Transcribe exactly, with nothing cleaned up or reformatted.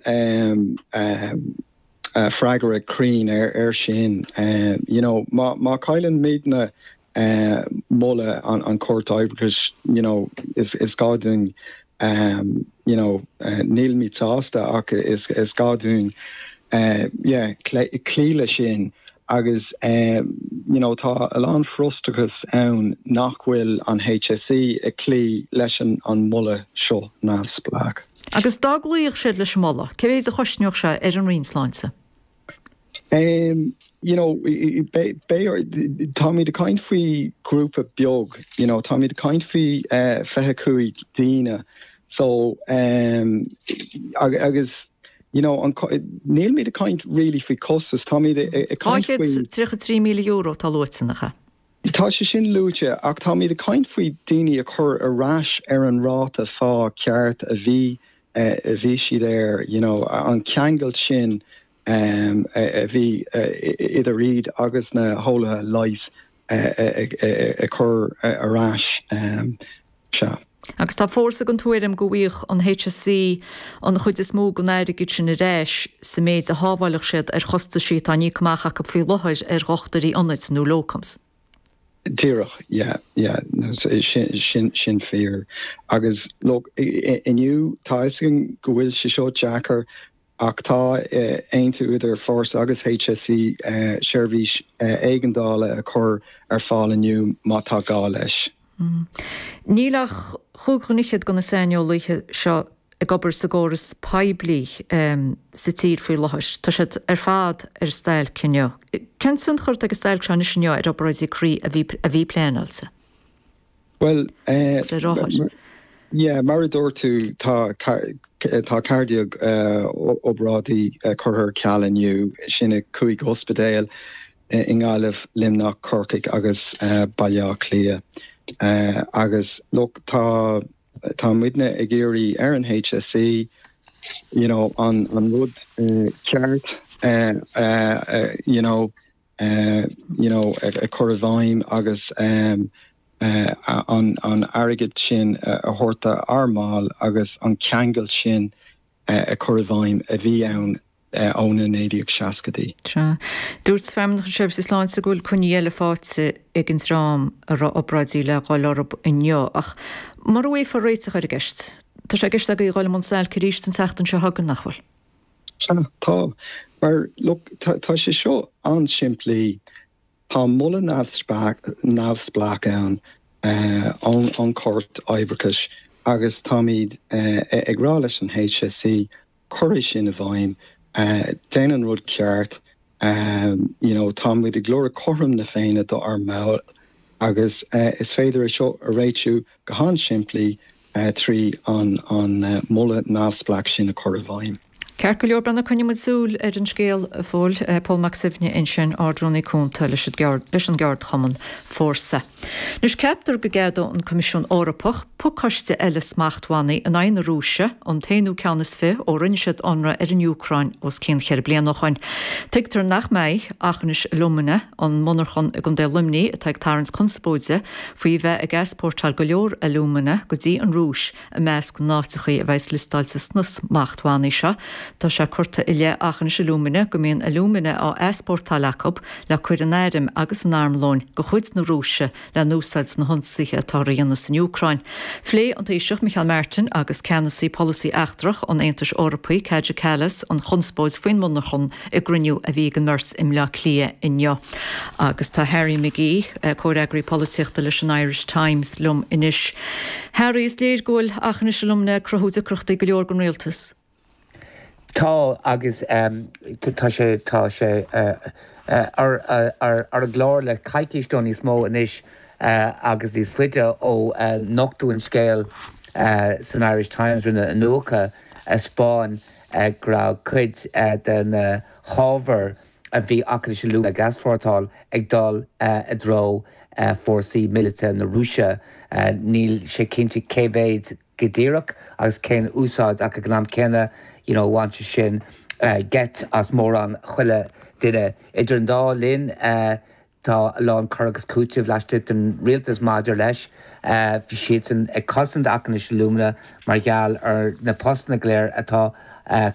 um, um, uh, freagra cruinn ar ar sin um, you know má má chailleann muidne uh, moladh an an Chúirt Oibreachais you know is is gá dúinn um, you know uh, nílimid sásta ach is is gá dúinn uh, yeah, cloí leis sin agus um, you know tá a lán frustrachas ann nach bhfuil an HSE ag cloí leis an an moladh seo neamhspleách. Agus dá gcloífeadh siad leis an moladh, cé mhéad a chosnódh sé ar an Roinn Sláinte? Um, you know táimid ag caint faoi grúpa beag you know táimid ag caint faoi uh, fiche cúig daoine so um, agus you know an nílimid ag caint really faoi costas táimid ag caint tríocha trí míle euro tá luaite nach ea. Tá sé sin luaite ach táimid ag caint faoi daoine a chur ar ais ar an ráta phá ceart a bhí uh, a bhí siad air you know an ceangal sin um, a bhí uh, idir iad agus na heolaithe leighis a chur ar ais um, sea. Agus tá Fórsa den tuairim go bhfaigheadh an HSE an chuid is mó den airgead sin ar ais sa méid a shábhálfadh siad ar chostaisí atá á n-íoc amach acu faoi láthair ar dhochtúirí ionaid nó locums. Díreach yeah, yeah, sin sin sin fíor agus look inniu tá go bhfuil sé seo deacair ach tá aontú idir Fórsa agus HSE uh, seirbhís uh, éigeandála a chur ar fáil inniu má tá gá leis. Mm. Níl ach chúig dhuine fhichead de na saineolaithe seo ag obair sa gcóras poiblí um, sa tír faoi láthair. Tá siad ar fad ar stailc inniu. Cén tionchar atá ag an stailc seo anois inniu ar obráidí croí a bhí a bhí pleanáilte? Well uh, yeah, mar a dúirt tú tá tá ceathair déag uh, obráidí uh, curtha ar ceal inniu sin i cúig ospidéal uh, i nGaillimh Luimneach Corcaigh agus uh, Baile Átha Cliath. Uh, agus look tá tá muidne ag iarraidh ar an HSE you know an an rud uh, ceart uh, uh, uh, you know uh, you know a, a chur i bhfeidhm agus um, uh, an an airgead sin uh, a thabhairt ár mbaill agus an ceangal sin uh, a chur i bhfeidhm a bhí ann ó na naoi déag seascaidí. Dúirt Feidhmeannacht na Seirbhíse Sláinte go bhfuil coinní eile faighte ag an dream a raibh obráidí le dhul orthu inniu ach mura bhfaighfear réiteach ar an gceist. Tá sé i gceist agaibh dul i mbun stailce arís an tseachtain seo chugainn nach bhfuil. Tá mar look tá sé seo an-simplí tá moladh neamhspleách ann an an Chúirt Oibreachais agus táimid ag rá leis an HSE cuir sin i bhfeidhm déan an rud ceart um, you know, táimid ag lorg cothrom na Féinne do ár mbaill agus uh, is féidir é seo a réitiú go han-simplí uh, trí an an uh, moladh neamhspleách sin a chur i bhfeidhm. Ceart go leor Breandán coinneoidh muid súil ar an scéal fóill Pól Mac Suibhne ansin Ard-Rúnaí Cúnta leis an gceardchumann Fórsa. Anois ceaptar go gceadóidh an Coimisiún Eorpach pacáiste eile smachtbhannaí in aghaidh na Rúise an t-aonú ceann is fiche ó rinne siad ionradh ar an Úcráin os cionn cheithre bliana ó shin. Tuigtear nach mbeidh Aughinish Alumina an monarchan i gContae Luimnigh atá ag tarraingt conspóide faoi bheith ag easpórtáil go leor alúmana go dtí an Rúis i measc na n-áiteachaí a bheas liostáilte sna smachtbhannaí seo. Tá sé curtha i leith Aughinish Alumina go mbíonn alúmana á easpórtáil acu le cur in airm agus in armlón de chuid na Rúise le n-úsáid sna hionsaithe atá á ndéanamh san Úcráin. Phléigh an Taoiseach Micheál Martin agus ceannasaí polasaí eachtrach an Aontais Eorpaigh Kaja Kallas an chonspóid faoin monarchan i gcruinniú a bhí ag an mbeirt i mBleá Cliath inniu. Agus tá Harry McGee, eh, comhfhreagraí polaitíochta leis an Irish Times liom anois. Harry is léir go bhfuil Aughinish Alumina ag cruthú deacrachtaí go leor don rialtas. Tá agus um, tá sé tá sé uh, uh, ar ar ar an gclár le coicís nó níos mó anois uh, agus níos faide ó uh, nochtadh an scéal uh, san Irish Times rinne iniúchadh a thaispeáin uh, go raibh cuid uh, den uh, hábhar a bhí Aughinish Alumina ag easpórtáil ag dul uh, i dtreo uh, fórsaí míleata na Rúise uh, níl sé cinnte cé mhéad go díreach agus cén úsáid ach ag an am céanna you know, bhain sé sin uh, geit as mórán chuile duine idir an dá linn uh, tá a lán cur agus cúiteamh laistigh den rialtas maidir leis uh, bhí siad ag cosaint Aughinish Alumina mar gheall ar na postanna go léir atá uh,